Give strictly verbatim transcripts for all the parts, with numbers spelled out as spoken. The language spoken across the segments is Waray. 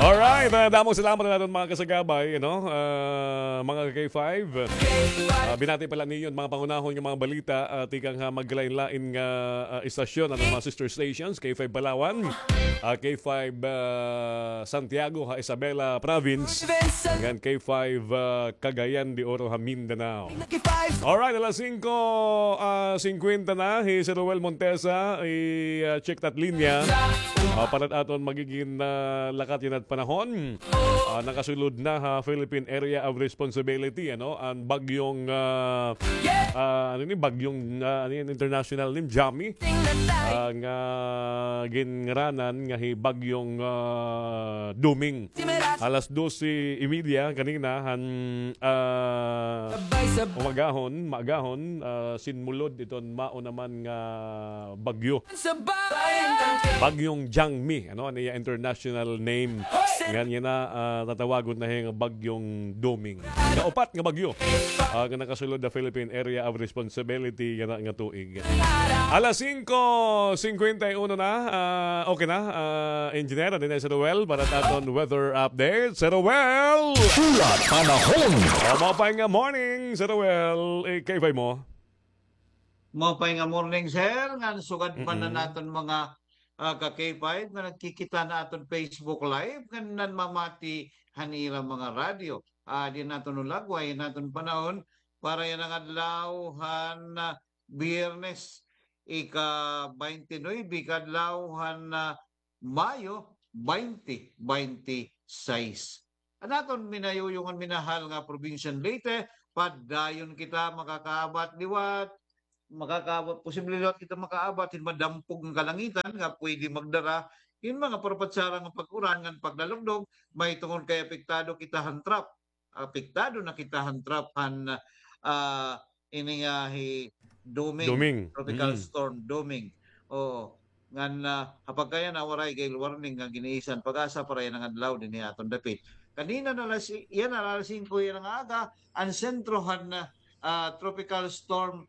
Alright, ah, damo salamat ha aton mga kasagabay, ano, ah, mga K five. Ah, binati pa la niyo an mga panghunahon nga mga balita, ah, tikang ha magkalain-lain nga, ah, istasyon, aton mga sister stations, K five Palawan, ah, K five, ah, Santiago ha Isabela Province, ngan K five, ah, Cagayan de Oro ha Mindanao. Alright, alas singko, ah, singkwenta na, hi Sir Roel Montesa, i, ah, check ta it linya. Ah, para it aton magigin, ah, lakat yana it panahon. Ah, nakasulod na ha Philippine Area of Responsibility, ano, an bagyong, ah, ah, ano ini, bagyong, ah, ano ini, international name, Jami. Ah, nga ginngaranan nga hi bagyong, ah, Doming. Alas dose y media kanina han, ah, umagahon, maagahon, ah, sinmulod iton mao naman nga bagyo. Bagyong Jangmi, ano, an iya international name. Ngan yana, ah, tatawagon na hiya nga bagyong Doming. Kaupat nga bagyo, ah, nga nakasulod ha Philippine Area of Responsibility yana nga tuig. Alas singko singkwenta y uno na. Ah, okay na, ah, engineer, adi na si Roel para sa aton weather update. Sir Roel! Hulat panahon. O, maupay nga morning, Sir Roel. Eh, kay mo? Maupay nga morning, sir. Ngan sugad pa na naton mga, ah, ka K five nga nagkikita na aton Facebook Live, ngan nanmamati han ira mga radyo. Ah, di naton ulagway, naton panahon para yana nga adlaw han, ah, Biyernes, ika-twenty-nine, kadlaw han, ah, Mayo twenty twenty-six. An aton minayuyong ngan minahal nga probinsya han Leyte, padayon kita makakaabat liwat, makakaabat, posible liwat kita makaabat hin madampog nga kalangitan nga pwede magdara hin mga parpatsara nga pag-uran ngan paglalugdog, mahitungod kay apektado kita han trough. Apektado na kita han trough han, ah, ini nga hi Doming, Doming. Tropical Storm Doming. Oo. Ngan, ah, ha pagkayana, waray gale warning nga gin-iisyu han PAGASA para yana nga adlaw dinhi ha aton dapit. Kanina na alas, yana alas singko yana nga aga, an sentro han, ah, Tropical Storm,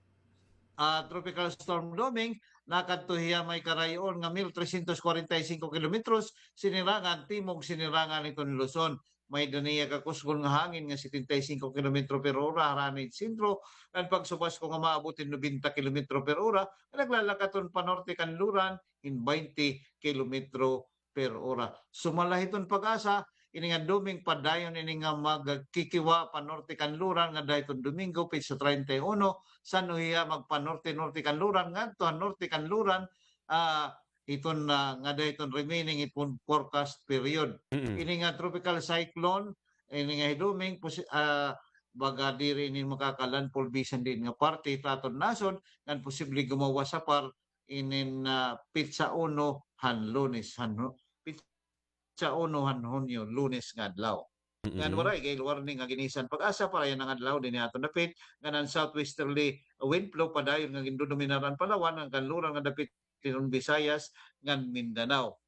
ah, Tropical Storm Doming, nakadto hiya may karayo-on nga mil tresyentos kwarenta y singko kilometros, sinirangan, timog sinirangan hiton Luzon. May-ada niya kakusgon nga hangin nga setenta y singko kilometro per ora harani hin sentro, ngan pagsubasko nga maabot hin nobenta kilometro per ora, nga naglalakat hiton panorte kanluran hin twenty kilometro per ora. Sumala hiton PAGASA, ini nga Doming padayon ini nga magkikiwa panorte kanluran ngada hiton Domingo, petsa treinta y uno, san-o hiya magpanorte-norte kanluran ngadto ha norte kanluran, ah, hiton, ah, ngada hiton remaining hiton forecast period. Mm-mm. Ini nga tropical cyclone, ini nga hi Doming, posi-, ah, baga diri ini makaka-landfall bisan diin nga parte hit aton nasod, ngan posible gumawas ha par inin, ah, petsa uno han Lunes, han Hu-, petsa uno han Hunyo, Lunes nga adlaw. Mm-mm. Ngan waray gale warning nga gin-iisyu han PAGASA para yana nga adlaw dinhi ha aton dapit, ngan an southwesterly wind flow padayon nga gindodominar an Palawan, ngan kanluran nga dapit hiton Visayas ngan Mindanao.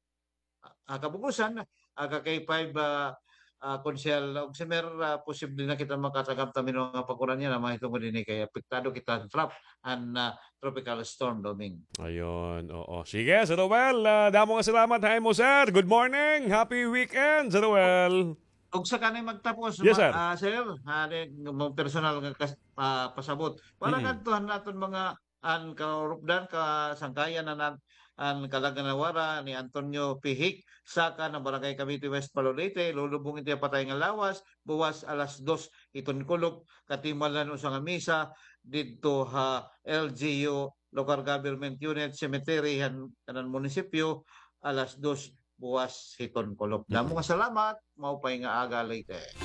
Ah, kabug-osan, ah, ka K five, ah, ah, Konsehal Ogsimer, ah, posible na kita makatagap ta hin mga pag-uran yana, mahitungod hini kay apektado kita han trough han, ah, Tropical Storm Doming. Ayun, oo. Sige, Sir Roel, ah, damo nga salamat ha imo, sir. Good morning. Happy weekend, Sir Roel. Ug sa kanay magtapos, yes, sir, ah, sir, ah, di, mga personal nga kas-, ah, pasabot. Para kadto han aton mga an kaurupdan, kasangkayan han, an Calaguanawara ni Antonio Pihik, saka han Barangay Cavite West, Palo, Leyte, lulubong ito ha patay nga lawas, buwas alas dos hiton kulop, katimalan usa nga misa didto ha L G U, Local Government Unit, Cemetery han kanan munisipyo, alas dos buwas hiton kulop. Damo nga salamat, maupay nga aga, Leyte.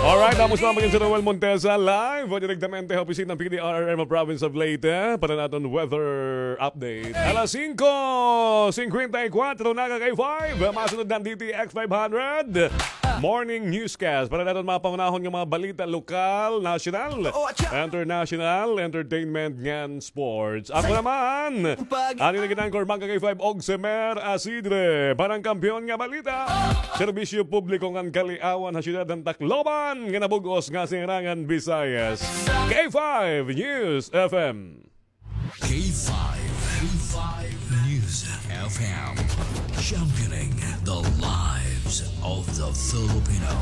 Alright, damo salamat kay Sir Roel Montesa, live o direktamente ha opisina han P D R R M Province of Leyte para han aton weather update. Alas singko singkwenta y kuwatro na, ka K five. Masunod na an D T X five hundred Morning Newscast para han aton mga panghunahon nga mga balita lokal, nasyonal, international, entertainment, ngan sports. Ako naman an inyo gin-anchor, mga ka K five, Ogsimer Asidre, para han Kampiyon nga Balita, serbisyo publiko ngan kaliawan ha syudad han Tacloban, nga nabug-os nga Sirangan Visayas. K five News F M. K five, K five News F M, championing the lives of the Filipino.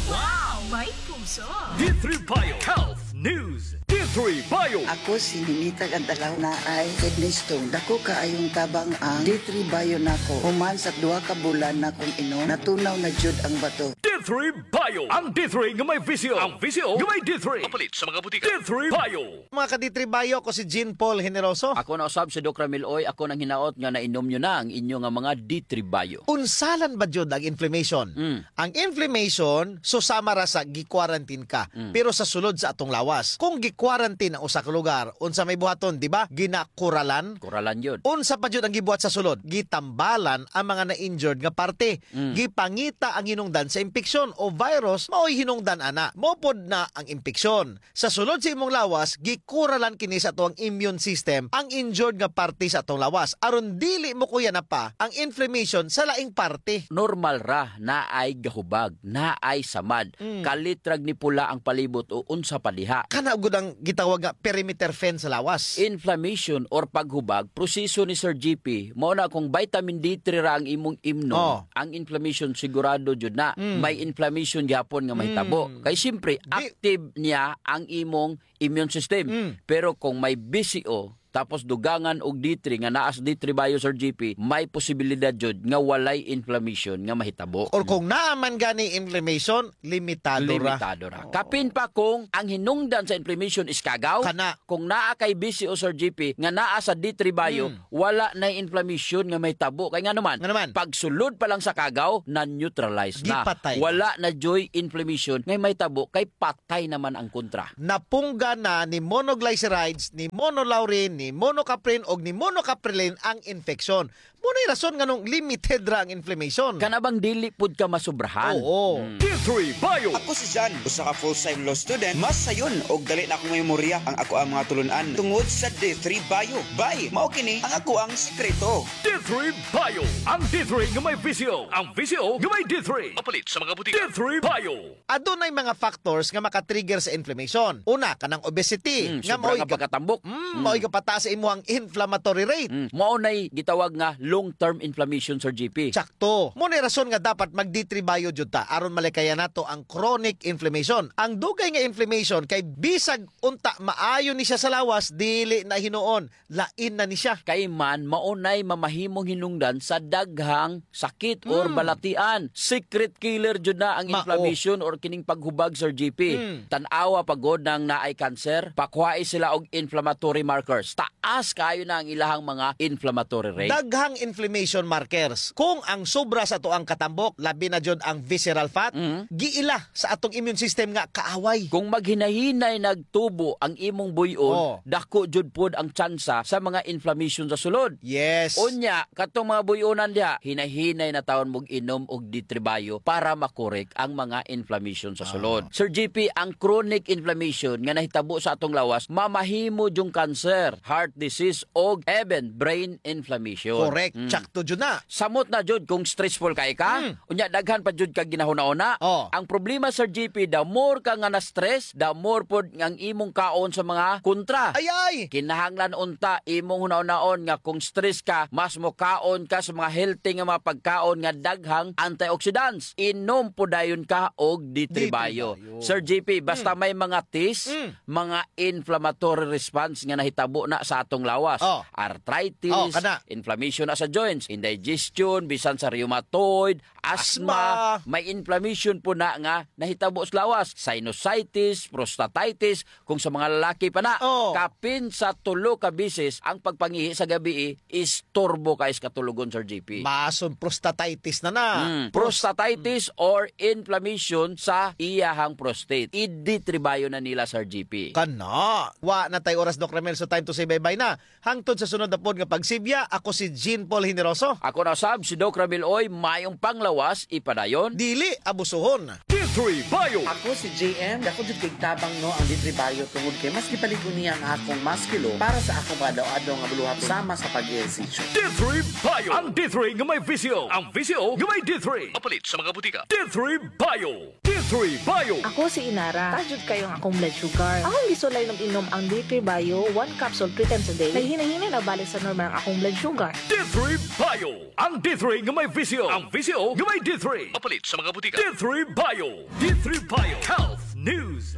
Wow! May puso! D three Bio Health News. D three Bio. Ako si Ninita Gantalaw, naay kidney stone. Dako kaayong tabang ang D three Bio nako. Human sa duha ka bulan nakong inom, natunaw na jud ang bato. D three Bio. Ang D three nga may V C O. Ang V C O nga may D three. Mapalit sa mga butika. D three Bio. Mga ka-D three Bio, ako si Jean Paul Generoso. Ako na usab si Doc Ramil Oy, ako nang hinaot nga nainom nyo na ang inyo nga mga D three Bio. Unsalan ba jud ang inflammation? Mm. Ang inflammation, susama ra sa gi-quarantine ka, mm, pero sa sulod sa atong lawas. Kung gi-quarantine ang usa ka lugar, unsa may buhaton, di ba? Ginakuralan. Kuralan jud. Unsa pa jud ang gibuhat sa sulod? Gitambalan ang mga na-injured nga parte. Mm. Gipangita ang hinungdan sa impeksyon o virus, mao'y hinungdan ana. Mao pod na ang impeksyon. Sa sulod sa imong lawas, gikuralan kini sa atoang immune system, ang injured nga parte sa atong lawas. Aron dili mokuyanan pa ang inflammation sa laing parte. Normal ra, naay gahubag, naay samad, mm, kalit rag nipula ang palibot o unsa pa diha. Kana gud ang gitawag nga perimeter fence sa lawas. Inflammation or paghubag, proseso ni Sir G P, mao na kung vitamin D three ra ang imong imnon, oh, ang inflammation sigurado jud na. Mm. May inflammation gihapon nga mahitabo. Mm. Kay siyempre, di- active niya ang imong immune system. Mm. Pero kung may V C O, tapos dugangan og D three nga naa sa D three Bio, Sir G P, may posibilidad jud nga walay inflammation nga mahitabo. Or kung naa man gani inflammation, limitado ra. Limitado ra. Oo. Kapin pa kung ang hinungdan sa inflammation is kagaw, kana, kung naa kay V C O, Sir G P, nga naa sa D three Bio, mm, wala na inflammation nga mahitabo. Kay ngano man? Ngano man? Pagsulod pa lang sa kagaw, na-neutralize na. Gipatay na. Wala na joy inflammation nga mahitabo kay patay naman ang kontra. Napungga na ni monoglycerides, ni monolaurin, ni monocaprin, og ni monocaprilin ang infeksyon. Mao nay rason nganong limited ra ang inflammation. Kana bang dili pud ka masubrahan? Oo. Hmm. D three Bio. Ako si Jan, usa ka full-time law student, mas sayon og dali na akong memorya ang akoang mga tulun-an tungod sa D three Bio. Bay, mao kini ang akoang sikreto. D three Bio, ang D three nga may V C O, ang V C O nga may D three. Mapalit sa mga butika. D three Bio. Adunay mga factors nga maka-trigger sa inflammation. Una, kanang obesity, mm, nga sobra mao'y nga ga-, pagkatambok. Mm, mm, mao'y gapataas sa imuhang inflammatory rate. Mm, mao nay gitawag nga long-term inflammation, Sir G P. Sakto. Mao nay rason nga dapat mag-D three Bio jud ta aron malikayan nato ang chronic inflammation. Ang dugay nga inflammation kay bisag unta maayo ni siya sa lawas, dili na hinuon. Lain na ni siya. Kay man, mao nay mamahimong hinungdan sa daghang sakit or, mm, balatian. Secret killer jud na ang, mao, inflammation or kining paghubag, Sir G P. Mm. Tan-awa pa gud nang naay cancer, pakuhai sila og inflammatory markers. Taas kaayo na ang ilahang mga inflammatory rate. Daghang inflammation markers. Kung ang sobra sa atoang katambok, labi na jud ang visceral fat, mm, giila sa atong immune system nga kaaway. Kung maghinay-hinay nagtubo ang imong buy-on, oh, dako jud pod ang tsansa sa mga inflammation sa sulod. Yes. Unya, katong mga buy-onan diha, hinay-hinay na tawon mog inom og D three Bio para makorek ang mga inflammation sa sulod. Ah. Sir G P, ang chronic inflammation nga nahitabo sa atong lawas, mamahimo jung cancer, heart disease, og even brain inflammation. Correct. Mm. Sakto jud na. Samot na jud kung stressful kay ka, mm, unya daghan pa jud ka ginahuna-huna. Oh. Ang problema, Sir G P, the more ka nga na-stress, the more pod ang imong kaon sa mga kontra. Ay, ay! Kinahanglan unta imong hunahunaon nga kung stress ka, mas mokaon ka sa mga healthy nga mga pagkaon nga daghang antioxidants. Inom pod dayon ka og D three Bio. D three Bio. Sir G P, basta, mm, may mga test, mm, mga inflammatory response nga nahitabo na sa atong lawas. Oh. Arthritis, oh, kana, inflammation na sa joints, indigestion, bisan sa rheumatoid, asthma, asthma, may inflammation pod na nga nahitabo sa lawas, sinusitis, prostatitis, kung sa mga lalaki pa na, oh, kapin sa tulo ka beses ang pagpangihi sa gabii, istorbo kay sa katulogon, Sir G P. Mason prostatitis na na. Mm, pros- prostatitis or inflammation sa iyahang prostate. I-D three Bio na nila, Sir G P. Kana. Wa na tay oras, Doc Ramil, so time to say bye-bye na. Hangtod sa sunod na pod nga pagsibya, ako si Jean Paul Generoso. Ako na usab si Doc Ramil Oy, mayong panglawas, ipadayon. Dili abusuhon. D three Bio. Ako si J M, dako jud kay tabang, no, ang D three Bio tungod kay mas gipalig-on niya ang akong musculo para sa akong mga adlaw-adlaw nga buluhaton sama sa pag-ehersisyo. D three Bio. Ang D three nga may V C O. Ang V C O nga may D three. Mapalit sa mga butika. D three Bio. D three Bio. Ako si Inara. Taas jud kaayo ang akong blood sugar. Akong gisulay inom-inom ang D three Bio, one capsule three times a day. Naghinay-hinay na balik sa normal ang akong blood sugar. D three Bio. Ang D three nga may visyo. Ang visyo nga may D three. Mapalit sa mga butika. D three Bio. D three Bio. Health News.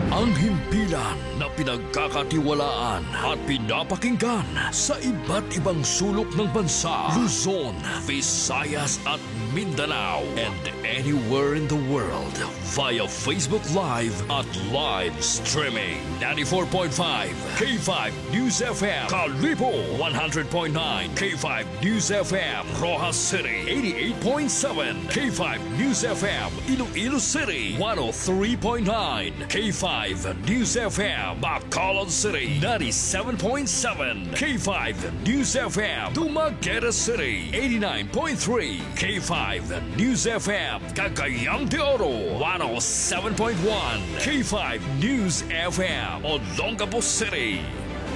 Ang himpilan na pinagkakatiwalaan at pinapakinggan sa iba't ibang sulok ng bansa, Luzon, Visayas at Mindanao, and anywhere in the world via Facebook Live at live streaming. Ninety-four point five K five News F M, Kalibo, one hundred point nine K five News F M, Roxas City, eighty-eight point seven K five News F M, Iloilo City, one oh three point nine K five News F M, Bacolod City, ninety-seven point seven K five News F M, Dumaguete City, eighty-nine point three K five News F M, Cagayan de Oro, one oh seven point one K five News F M, Olongapo City.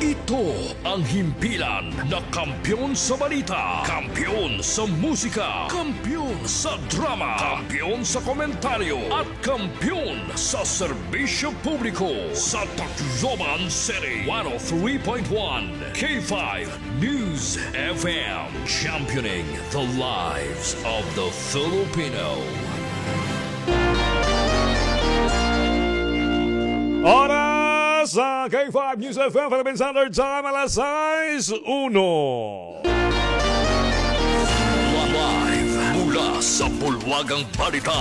Ito ang himpilan na kampiyon sa balita, kampiyon sa musika, kampiyon sa drama, kampiyon sa komentaryo, at kampiyon sa serbisyo publiko sa Tacloban City. One oh three point one K five News F M, championing the lives of the Filipino. Oras sa K five News F M Philippine Standard Time, alas sais uno. Live mula sa bulwagang balita,